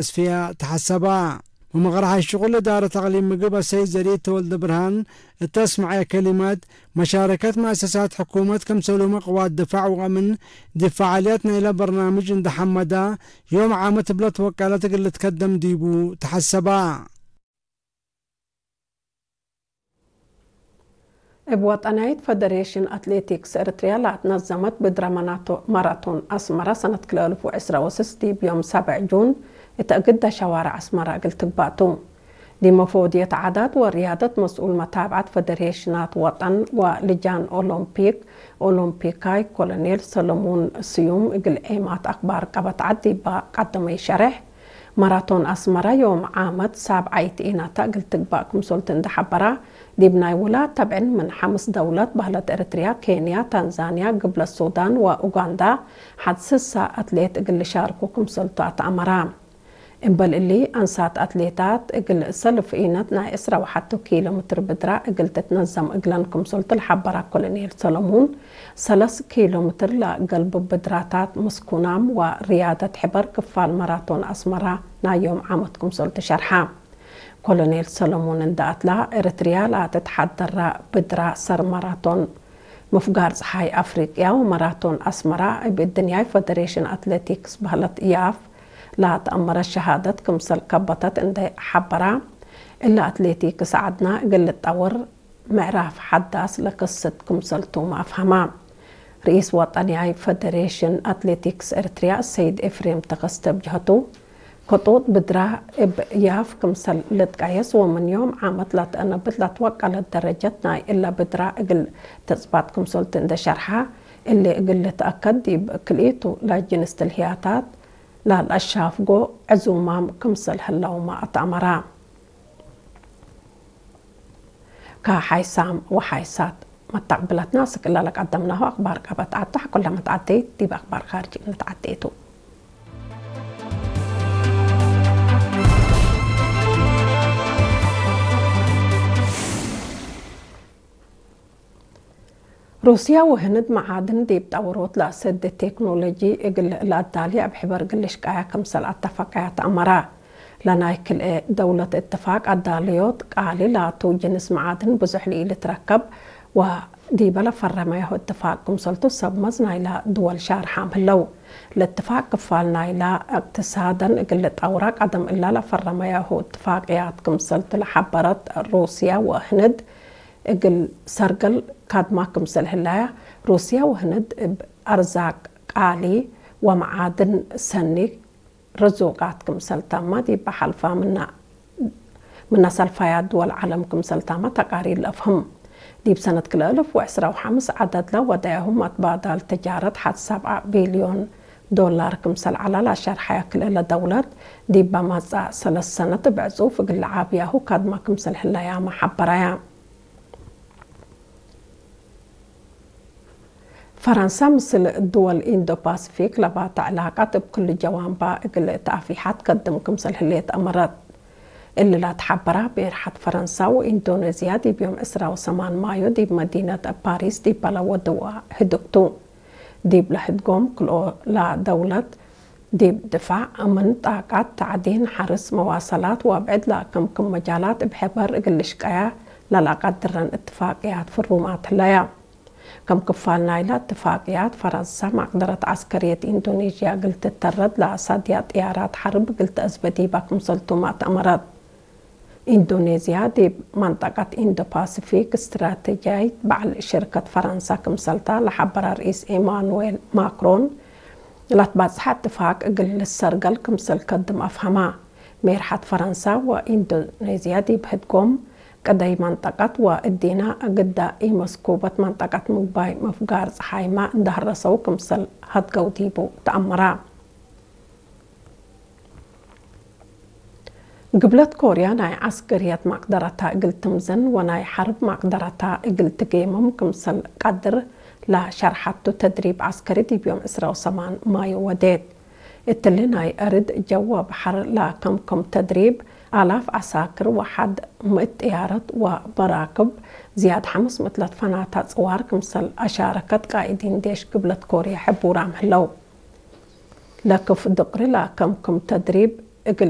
ኣስፍያ ተሓሰባ። መመቕርሓ ሽቑል እዳረት ኣቕሊም ምግብ ኣሰይድ ዘርኢት ተወልደ ብርሃን እተስምዐ ከሊመት፣ መሻረከት መእሰሳት ሕኩመት ከምሰሉ መቕዋት ድፋዕ ወቐምን ድፋዓልያት ናይላ በርናምጅ እንደሓመዳ ዮም ዓመት ብለት ወቃለት እግል ልትከደም ዲቡ ተሓሰባ። እብ ወጠናይት ፈደሬሽን ኣትሌቲክስ ኤርትርያ ለኣትነዘመት ብድረ መናቶ-፣ ማራቶን ኣስመራ ሰነት ክልኤ እልፍ ወዕስራ ወስስ ዲብ ዮም ሳብዕ ጁን እተ እግዳ ሸዋርዕ ኣስመራ እግል ትግባእቱ። ዲመፎድየት ዓዳት ወርያደት መስኡል መታብዓት ፈደሬሽናት ወጠን ወልጃን ኦሎምፒክ ኦሎምፒካይ ኮሎኔል ሰሎሞን ስዩም እግል ዔማት ኣኽባር ቀበት ዓድ ዲባ ቀደመይ ሸርሕ፣ ማራቶን ኣስመራ ዮም ዓመት ሳብዓይት ኢናታ እግል ትግባእ ክምሰልቲ እንደሓበራ፣ ዲብ ናይ ውላ ተብዕን ምን ሓምስ ደውለት ባህለት ኤርትርያ፣ ኬንያ፣ ታንዛንያ፣ ግብለት ሱዳን ወኡጋንዳ ሓድ ስሳ ኣትሌት እግል ሻርኩ ክምሰልቱ ኣተኣመራ። እምበል እሊ ኣንሳት ኣትሌታት እግል ሰልፍ ኢነት ናይ ዕስራ ወሓቱ ኪሎ ምትር ብድራ እግል ትትነዘም እግለን ክምሰልቱ ለሓበራ ኮሎኔል ሰሎሙን፣ ሰለስ ኪሎ ምትር ለገልቡ ብድራታት ምስኩናም ወርያደት ሕበር ክፋል ማራቶን ኣስመራ ናይ ዮም ዓመት ክምሰልቱ ሸርሓ። ኮሎኔል ሰሎሞን እንዳ ኣትላ ኤርትርያ ለኣተትሓደራ ብድራ ሰር ማራቶን ምፍጋር ጸሓይ ኣፍሪቅያ ወማራቶን ኣስመራ እብ እድንያይ ፈደሬሽን ኣትሌቲክስ ባህለት ያፍ ለተኣመረ ሸሃደት ክምሰል ከበተት እንደ ሓበራ፣ እለ ኣትሌቲክስ ዓድና እግል ልጠውር ምዕራፍ ሓዳስ ለክስት ክምሰልቱም ኣፍሃማ። ርኢስ ወጠንያይ ፈደሬሽን ኣትሌቲክስ ኤርትርያ ሰይድ ኤፍሬም ተኸስተ ብጅሀቱ፣ ከጡጥ ብድራ እብ ያፍ ክምሰል ልትቀየስ ወምን ዮም ዓመት ላትአነብት ላትወቀለት ደረጀት ናይ እለ ብድራ እግል ተጽባት ክምሰልቲ እንደ ሸርሓ፣ እሊ እግል ልትአከድ ዲብ ክልኢቱ ላጅንስ ትልህያታት ላልአሻፍጎ ዕዙማም ክምሰል ህለውማ ኣተአመራ። ከሓይሳም ወሓይሳት መተቅብለትና ስክላ ለቀደምናሁ ኣኽባር ቀበት ዓዳ ኩለ መትዓደይት ዲብ ኣኽባር ኻርጅ እንተዓደይቱ። ሩስያ ወህንድ መዓድን ዲብ ጣውሮት ለአሰድ ቴክኖሎጂ እግል ለአዳሊ ኣብ ሕበር ግልሽ ቃያ ክምሰል ኣተፋቀያ ተአመራ። ለናይ ክልኤ ደውለት እትፋቅ ኣዳልዮት ቃሊ ላቱ ጅንስ መዓድን ብዙሕ ልኢልትረከብ ወዲበ ለፈረመያሁ እትፋቅ ክምሰልቱ ሰብ መዝ ናይላ ድወል ሻርሓም ህለው። ለእትፋቅ ክፋል ናይላ እቅትሳደን እግል ጣውራ ቀደም እላ ለፈረመያሁ እትፋቅያት ክምሰልቱ ለሓበረት ሩስያ ወህንድ እግል ሰርገል ካድማ ክምሰል ህላያ፣ ሩስያ ወህንድ እብ ኣርዛቅ ቃሊ ወመዓድን ሰኒ ርዙቃት ክምሰልታማ ዲብ ሓልፋ ምና፣ ምና ሰልፋያ ድወል ዓለም ክምሰልታማ ተቃሪር ለአፍህም። ዲብ ሰነት ክልኤ እልፍ ወዕስራ ወሓምስ ዓደድላ ወዳያሁም ኣትባዳል ተጃረት ሓድ ሰብዓ ቢልዮን ዶላር ክምሰል ዓላ ላሸርሓያ ክልኤ ለደውለት ዲብ በማጻእ ሰለስ ሰነት ብዕጹፍ እግል ለዓብያሁ ካድማ ክምሰል ህላያማ ሓበራያ። ፈረንሳ ምስል ድወል ኢንዶ ፓሲፊክ ለባታ ዕላቃት እብ ክሉ ጀዋንባ እግል እት ኣፊሓት ከድም ክምሰል ህሌት ኣመረት። እሊ ላትሓበራ ብኤርሓት ፈረንሳ ወኢንዶኔዝያ ዲብ ዮም ዕስራ ወሰማን ማዮ ዲብ መዲነት ፓሪስ ዲብ በለወድዋ ህድግቱ። ዲብ ለህድጎም ክልኦ ላደውለት ዲብ ድፋዕ፣ እምን፣ ጣቃት፣ ታዕዲን፣ ሓርስ፣ መዋሰላት ወአብዕድ ለአከምክም መጃላት እብ ሕበር እግል ልሽቀያ ለለአቀድረን እትፋቅያት ፍሩማት ህለያ። ከም ክፋል ናይላ እትፋቅያት፣ ፈረንሳ መቅደረት ዐስከርየት ኢንዶኔዥያ እግል ትተረድ ለአሳድያ ጥያራት ሐርብ እግል ተአዝበ ዲባ ክምሰልቱም አትአመረት። ኢንዶኔዝያ ዲብ መንጠቀት ኢንዶ-ፓሲፊክ እስትራተጅያይት በዓል ሽርከት ፈረንሳ ክምሰልታ ለሐበረ ርኢስ ኤማኑዌል ማክሮን፣ ለትባጽሐ እትፋቅ እግል ልሰርገል ክምሰል ከድም አፍሀማ። ሜርሐት ፈረንሳ ወኢንዶኔዝያ ዲብ ህድጎም ቅደይ መንጠቀት ወእዲና እግዳ ኢመስኩበት መንጠቀት ምግባይ ምፍጋር ጸሓይማ እንደሀረሰው ክምሰል ሀድገው ዲቡ ተአመራ። ግብለት ኮርያ ናይ ዐስከርየት መቅደረታ እግል ትምዘን ወናይ ሐርብ መቅደረታ እግል ትጌምም ክምሰል ቀድር ለሸርሐቱ ተድሪብ ዐስከሪ ዲብ ዮም ዕስራ ወሰማን ማዩ ወዴት። እትሊ ናይ አርድ ጀወ በሐር ለከምክም ተድሪብ አላፍ ዐሳክር ወሐድ ምእት ጥያረት ወመራክብ ዝያድ ሐምስ ምእት ለትፈናታ ጽዋር ክምሰል አሻረከት ቃኢዲን ዴሽ ግብለት ኮርያ ሕቡራም ህለው። ለክፍ ድቅሪ ለከምክም ተድሪብ እግል